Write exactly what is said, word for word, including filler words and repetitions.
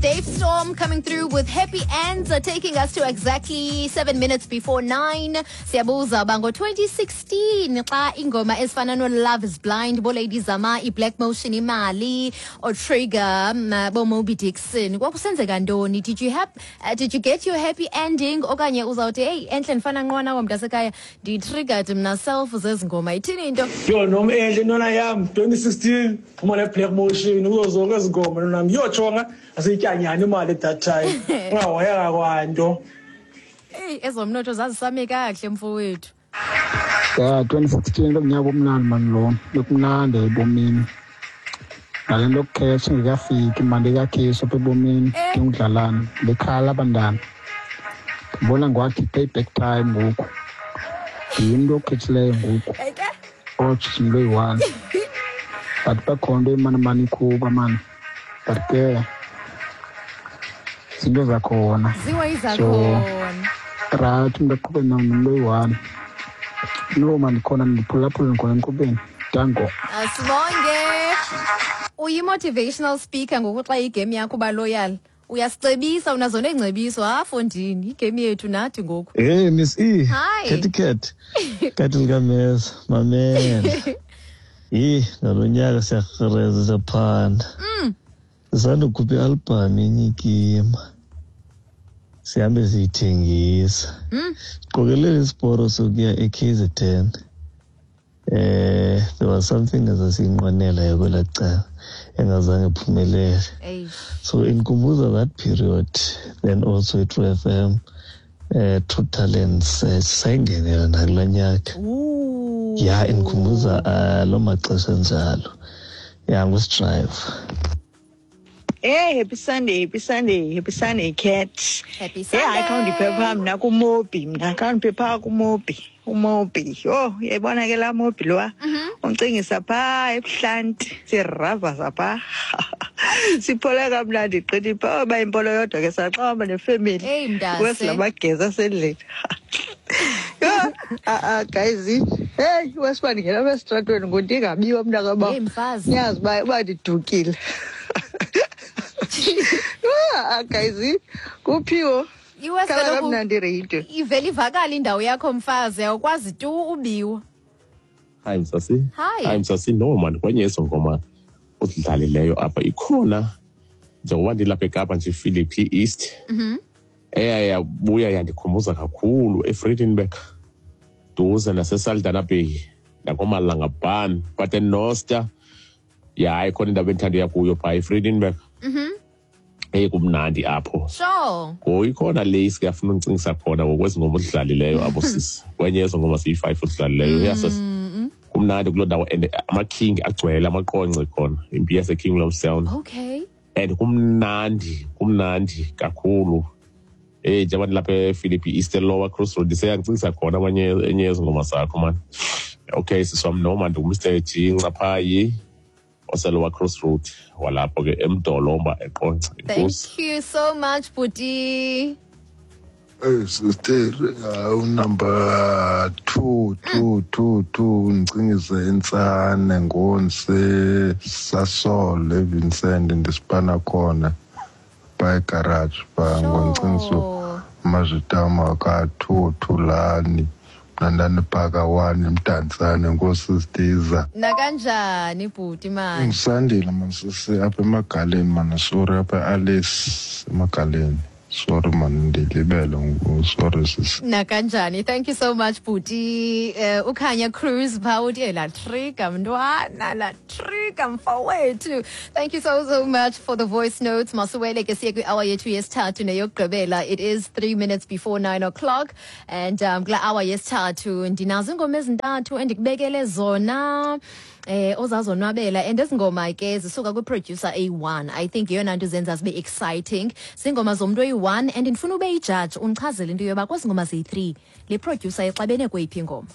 Dave Storm coming through with Happy Ends, uh, taking us to exactly seven minutes before nine. Siyabuza bango twenty sixteen xa ingoma ezifana no Love is Blind, bo Lady Zama, i Black Motion imali, or Trigger, um, bo Mobi Dixon. Kwakusenzeka ntoni? Did you have, uh, did you get your happy ending? Okanye uzawuthi hey, enhle ndifana nqwana wam mntasekhaya, ndi-triggered mna self zezi ngoma. Ithini into? Yo, nom enhle ntwana yam, twenty sixteen, phuma le Black Motion, kuzo zonke ezi ngoma nonam. Yo jonga, asiyityanyani imali at that time. Ungahoyanga kwanto. Hey, ezomnotho zazisame kakuhle mfowethu. Yeah, twenty sixteen lomnyaka omnandi man lo. Bekumnandi ebomini. Nale nto yokukhesha ingekafiki imali ikakhishwa apha ebomini, ndingudlalana, bekhala abantwana. Ndibona ngwathi payback time ngoku. Yinto okhethileyo ngoku. Otsho into eyi-one. But bakhona into emane mane ikhuba man. But ke zinto zakhona. Ziwa izakhona. So, right, umntu aqhube nomntu oyi-one. No man ndikhona ndiphulaphula ndikhona enkqubeni. Danko. Asibonge. Uyi-motivational speaker ngoku xa igame yakho uba loyal. Uyasicebisa, unazo neengcebiso. Ha, fondini, igame yethu nathi ngoku. Hey, Miss E. Hi. Kati cat. Kati likameza, mamela. Yhi, nalo nyaka siyakreza siyaphanda. Mm. Sisandokhupha i-album inyikima. Sihambe siyithengisa. Mm. Siqokelele isiporo sokuya e-K Z N. Eh, there was something esasiyinqwenela kwelaa cala engazange iphumelele. So inkumbuza that period, then also i-True F M, eh, True Talents, eh, sayingenela nakulaa nyaka. Yeah, inkumbuza uh, loo maxesha enjalo. Yeah, ngusidrayiva. Hey, happy Sunday, happy Sunday, happy Sunday, cat. Happy Sunday. Hey, hayi khawundiphepha mna kuMobi, mna khawundiphepha kuMobi. uMobi. Yho, uyayibona ke laa Mobi lowa? Uncingisa phaa ebuhlanti, siravaza phaa. Siphole kamnandi gqithi phaa, uba impolo yodwa ke saxhama nefemeli. Hey, mntase. Wesilabageza asendlini. Yho, a-a, guys, hey, wesiba ndingena apha esitratweni ngoku ndingabiwa mntakabawo. Hey, mfazi. Niyazi uba, uba ndidukile. Ah, guys, kuphiwo. Iwesi Khala kaloku kamnandi iradio. Ivele ivakale indawo yakho mfazi, awukwazi tu ubiwa. Hi Msasi. Hi. Hi Msasi, no man, kwenye eso ngoma odlalileyo apha ikhona njengoba ndilapha eKapa nje Philippi East. Mhm. Eyabuya yandikhumbuza kakhulu eFredenburg. Duze naseSaldanha Bay nakoMalanga Ban, but eNoster. Yeah, ikhona indawo endithanda uya kuyo phaa eFredenburg. Mhm. Hey, kumnandi apho. Sure. Ngoku ikhona le siyafuna uncingisa khona ngokwezi ngoma odlalileyo apho sisi. Kwenye ezo ngoma siyi-five odlalileyo. Yes, sis. Kumnandi kuloo ndawo and amaking agcwele amaqonce khona. Impi yaseKing Williamstown. Okay. And kumnandi, kumnandi kakhulu. Eh, njengoba ndilapha ePhilippi East Lower Crossroad seyangicingisa khona abanye enye yezo ngoma zakho man. Okay, sisi wam noma ndingu-Mister G Ncaphayi oseLower Crossroad walapho ke eMdolomba eQonce. Thank you so much, Bhuti. Hey sister, uh, number two two two two ngicingise insane ngonse Sasol eVincent ndisipana khona by garage ba ngoncingiso mazitama ka two two lani nandani phaka one eMdantsane ngosistiza. Nakanjani bhuti man? Ngisandile man sisi apha emagaleni man, sorry apha Alice emagaleni. Sorry man, ndilibele ngoku, sorry sisi. Nakanjani, thank you so much bhuti. Uh, uKhanya Cruz phaa uthi la trigger mntwana, la trigger mfowethu. Thank you so so much for the voice notes. Masuwele ke siye kwi-hour yethu yesithathu neyokugqibela. It is three minutes before nine o'clock and um kula hour yesithathu ndinazo iingoma ezintathu endikubekele zona. Eh ozazonwabela and ezingoma ke zisuka kwi-producer A one. I think yeyona nto zenza zibe exciting. Zingoma zomntu oyi-one and ndifuna ube yi-judge undichazele into yoba kwezi ngoma ziyi-three le producer ixabene kweyiphi ingoma.